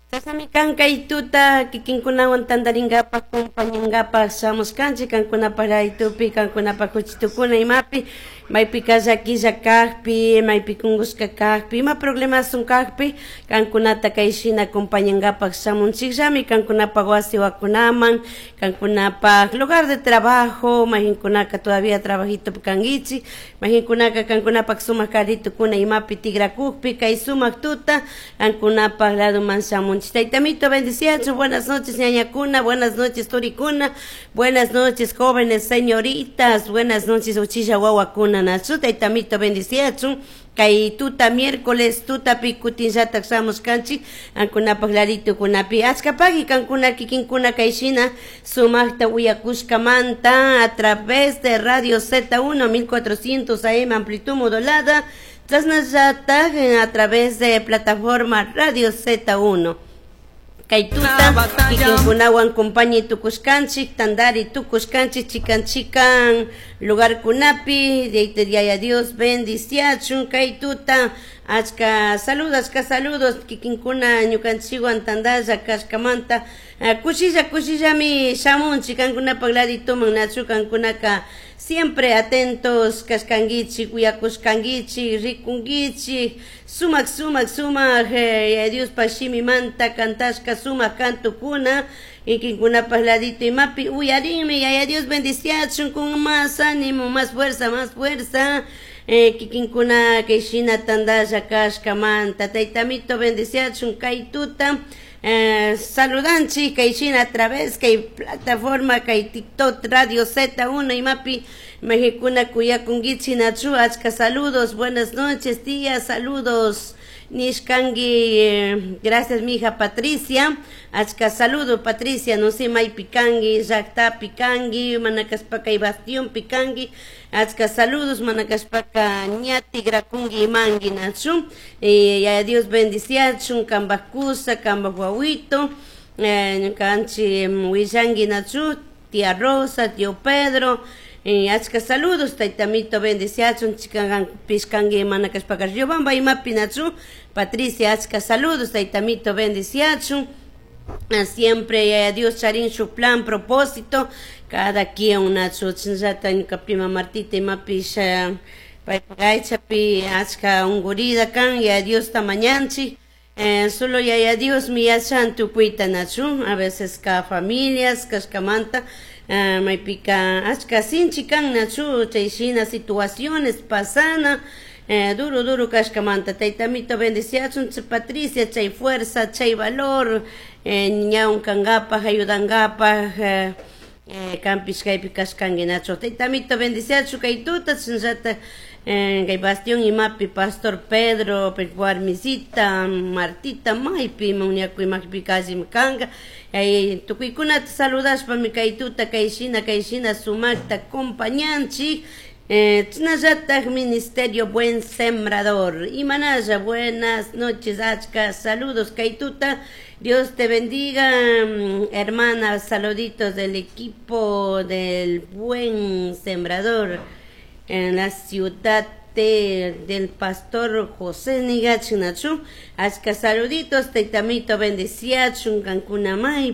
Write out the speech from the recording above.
Chashnami kan kay tuta kikinkunawan tantarinkapak, compañankapak shamushkanchik kankunapak raytupi, kankunapak kuchitukuna imapi, maypika llaquilla kakpi, maypi kunkushka kakpi, ima problemasun kakpi, kankunata kay shina acompañankapak shamunchikllami kankunapak wasi wakunaman, kankunapak lugar de trabajo, mayjinkunaka todavía trabajitopi kankichik, mayjinkunaka kankunapak sumak carritukuna imapi tikrakukpi kay sumak tuta kankunapak ladoman shamunchik. Taytamito bendiciachu, buenas noches, ñañakuna, buenas noches, turikuna, buenas noches, jóvenes, señoritas, buenas noches, uchilla wawakuna, nachu, taytamito bendiciachu, kay tuta miércoles tutapi kutinllatak shamushkanchik ankunapak laditukunapi achkapaki kankuna kikinkuna kay shina sumakta uyakushkamanta a través de Radio Z1 1400 AM amplitud modulada, chasnallatak a través de plataforma Radio Z1. Kay tuta kikinkunawan compañi tukushkanchik, tandari tukushkanchik, chikan chikan lugarkunapi, Yaya Dios bendiciachun kay tuta, achka saludos, achka saludos, kikinkuna ñukanchikwan tandalla kashkamanta, kushilla kushillami shamunchik kankunapak ladituman, nachu kankunaka siempre atentos kashkankichik, uyakushkankichik, rikunkichik, sumak sumak sumak, Yaya Diospak shimimanta kantashka sumak kantukuna, kikinkunapak ladito imapi uyarinmi, Yaya Dios bendiciachun con más ánimo, más fuerza, más fuerza, kikinkuna kay shina tandalla kashkamanta, taytamito bendiciachun kay tuta, saludanchik kay shina a través kay plataforma kay TikTok Radio Z1 imapi mayjikuna kuyakunkichik nachu, achka saludos, buenas noches, tía, saludos nishkanki, gracias mija Patricia, achka saludo Patricia, no sé maypi kanki, llaktapi kanki, mana kashpaka kay bastión kanki, achka saludos, mana kashpaka ña tigrakunki imanki nachu, Yaya Dios bendiciachun, kanpak kusa, kanpak wawito, ñukanchik willanki nachu, tía Rosa, tío Pedro, achka saludos, taytamito bendiciachun, chikan pishkanki mana kashpaka Riobamba imapi nachu, Patricia, achka saludos, taytamito bendiciachun, siempre Yaya Dios charin su plan, propósito, cada quien nachu, chinllata ñuka prima Martita imapish paypak aychapi achka ungurida kan, Yaya Diosta mañanchik, solo Yaya Dios mi yachan tukuyta nachu, a veces ka familias kashkamanta, maypika achka sinchi kan nachu, chay shina situaciones pasana, duro duro kashkamanta, taytamito bendiciachun, Patricia, chay fuerza, chay valor, ñaun kankapak, ayudankapak, kanpish kaypi kashkanki nachu, taytamito bendiciachun kay tuta, chinllata, kay bastión imapi Pastor Pedro, warmisita, Martita, maypi muñaku imakpi kallimi kanka, tukuykunata saludashpami kay tuta, kay shina sumakta acompañanchik, chinallatak Ministerio Buen Sembrador, imanalla, buenas noches, achka, saludos kay tuta, Dios te bendiga, hermana, saluditos del equipo del Buen Sembrador en la ciudad del pastor José Nigachinachu, achka saluditos, taytamito bendiciachun, kankuna.